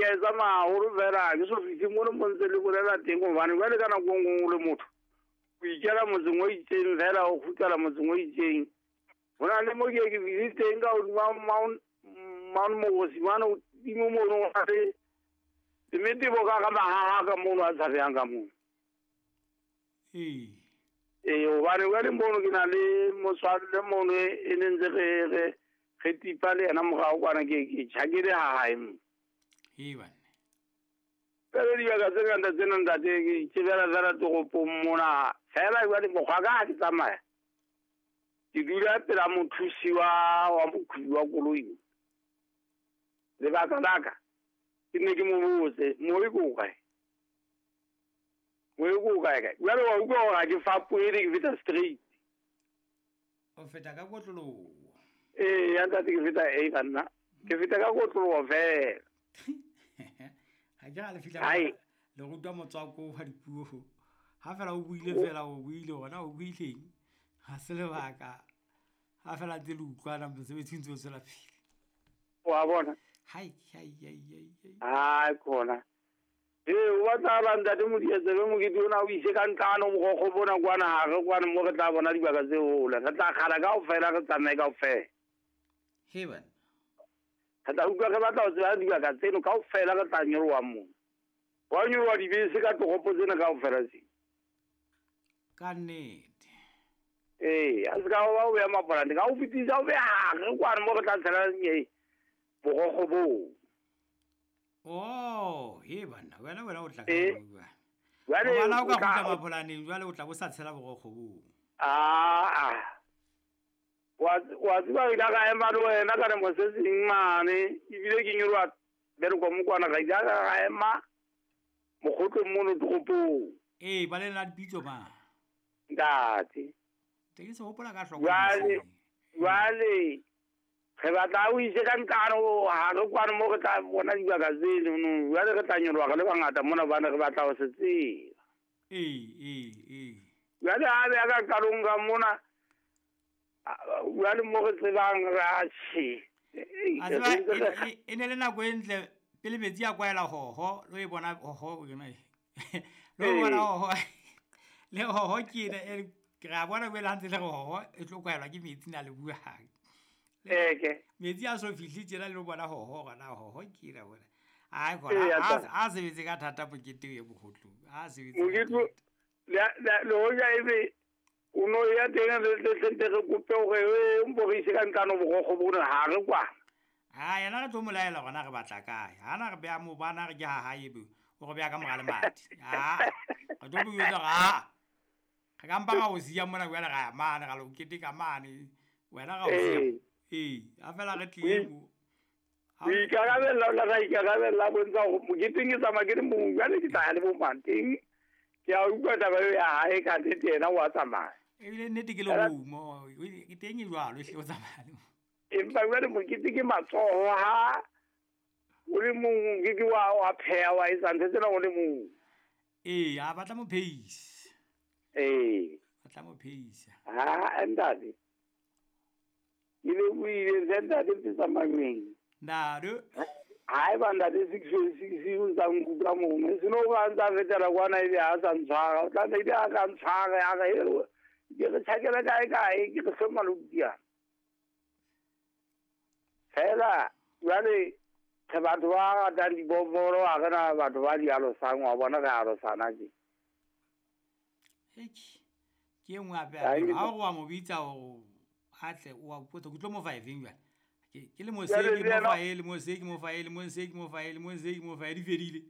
ke a e tsamaya haholo fela ha ke so fihle mono mo ntse le bolela teng hobane jwale ka nako e nngwe o le motho o ikela motseng o itseng fela o kgutlela motseng o itseng. Ho na le mo ke ke fihle teng ka hodima Mount Mogosi mane hodimo mono ho na le metebo ka ka mahaha ka mono a tshabehang ka mono. Ee. Ee, hobane jwale mono ke na le motswalle mono e ne ntse re tipa le yena morao kwana ke tjhakele ha hae mo. Ee banna. Pele dibaka tse ngata tsena ntate ke itjebela fela toropong mona. Fela jwale mokgwa ka ha ke tsamaya. Ke dula pela mothusi wa mokgweetsi wa koloi. Lebaka la ka ke ne ke mo botse mo e ko kae? Mo e ko kae kae? Jwale wa utlwa hore ha ke fapohe ke feta straight. O feta ka kotloloho. Ee, ya ntate ke feta e banna. Ke feta ka kotloloho fela. Ha ke ra le fihla le rutwa motswako wa dipuo. Ha fela o buile fela o buile hona o buileng. Ha se lebaka. Ha fela ntse le utlwana mosebetsi ntse o tswela pele. Wa bona? Hai hai hai hai. Hai khona. Ee, o batla la ntate Modiantsebe mokete ona o ise ka ntlano mogokgo bona kwana ha re kwana mo re tla bona dibaka tse hole. Re tla kgala kaofela re tsamaye kaofela. He bana. Re tla utlwa re batla ho tseba dibaka tseno kaofela re tla nyoloha moo. Wa nyoloha dibese ka toropo tsena kaofela tse. Ka nnete. Ee, a se ka wa o beha mapolante ka o fetisa o beha hare kwana mo re tla tshela bogokgo boo. Oh, he banna, wena o tla ka bua. Jwale wena o ka kgutla mapolaneng jwale o tla bo sa tshela bogokgo boo. Ah. Wa tseba ke ka ema le wena ka re mo se seng mane ebile ke nyoloha bereko mo kwana ka ile ka ema mokgotlong mono toropong. Ee, ba le la dipitso ma. Ntate. Teng se hopola ka hloko. Jwale re batla o ise ka ntlano ha re kwana mo re tla bona dibaka tseno no jwale re tla nyoloha re le bangata mona bana re batla ho se tseba. Ee. Jwale ha be ka qalong ka mona jwale mo re tsebang ra tjhe. A tseba e ne le nako e ntle pele metsi a kwaela hoho lo e bona hoho o yona. Lo bona hoho. Le hoho ke ena e re a bona jwale ha ntse le re hoho e tlo kwaelwa ke metsi na le buang. Eke. Metsi a so fihle tjena le bona hoho gona hoho ke ira bona. Ai khona a sebetse ka thata mokete e bogotlong. A sebetse. Mokete le hoja ebe o no ya teng re tle re kope hore o mporise ka ntlano bogokgo bona ha re kwana. Ha yena re tlo molaela gona re batla kae. Ha na re beha mo bana re ke ha hae ebe o re beha ka mora le madi. Ha re tlo bua ha. Re ka mpa ga o siya mona jwale ra ya mane ga lo keteka mane. Wena ga o siya. Ee, a fela re tlile mo. O ikarabella o la ikarabella bontsha hore moketeng ke tsamaya ke le mong jwale ke tla ya le bo mang teng. Ke a utlwa taba eo ya hae ka nnete yena o a tsamaya. Ebile nnete ke lerumo, ke teng e jwalo ehlile o tsamaya le mong. Empa jwale mokete ke matsoho ha o le mong ke wa pheha wa etsa ntho tsena o le mong. Ee, a batla mo phehisa. Ee. Batla mo phehisa. Ha ntate. Ke le buile ntate Pitsamangweng. Ntate. Haeba ntate 6 o ntsa nkutlwa mono. E seno ba ntsa fetela kwana ebe ha sa ntshwara. O tla ebe a ka ntshwara ya re ke re tjhakela kae kae ke re hloma lokiana. Fela jwale re batho ba ratang dibobolo ha re na batho ba di alosang wa bona re alosana tje. Hei, ke e nngwe hape ha o wa mo bitsa o atle o wa potsa ke tlo mo fa efeng jwale. Ke le mo se ke mo fa e le mo se ke mo fa e le mo se ke mo fa e le mo se ke mo fa e di fedile.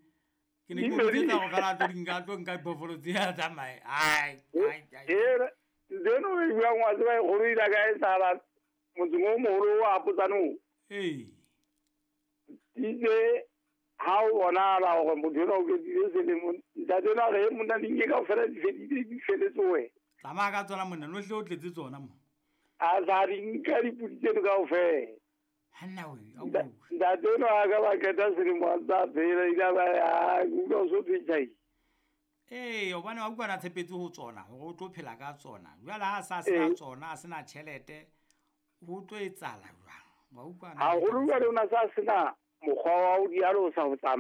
Ke ne ke mo bitsa go fela tlo nka tlo nka diphoofolo tse a tsamaye. Ai ai ai. Tseno e buang wa tseba e kgolo ile ka e sala motseng o moholo wa Potsane. Ee. Itse ha o bonahala hore motho enwa o ketile selemo ntate enwa re monna di nke kaofela di fedile di feletse wena. Tsamaya ka tsona monna no hle o tletse tsona mo. A sa di nka dipudi tseno kaofela. Hanna we, au. Ntate enwa a ka ba qeta selemo a ntsa phela ile ba ya utlwa o so phetsai. Ee, hobane wa utlwa na tshepetse ho tsona hore o tlo phela ka tsona. Jwale ha a sa sena tsona, a sena tjhelete, ho tlo etsahala jwang? Wa utlwa na? Haholo jwale o na sa sena mokgwa wa ho di alosa ho tsamaya.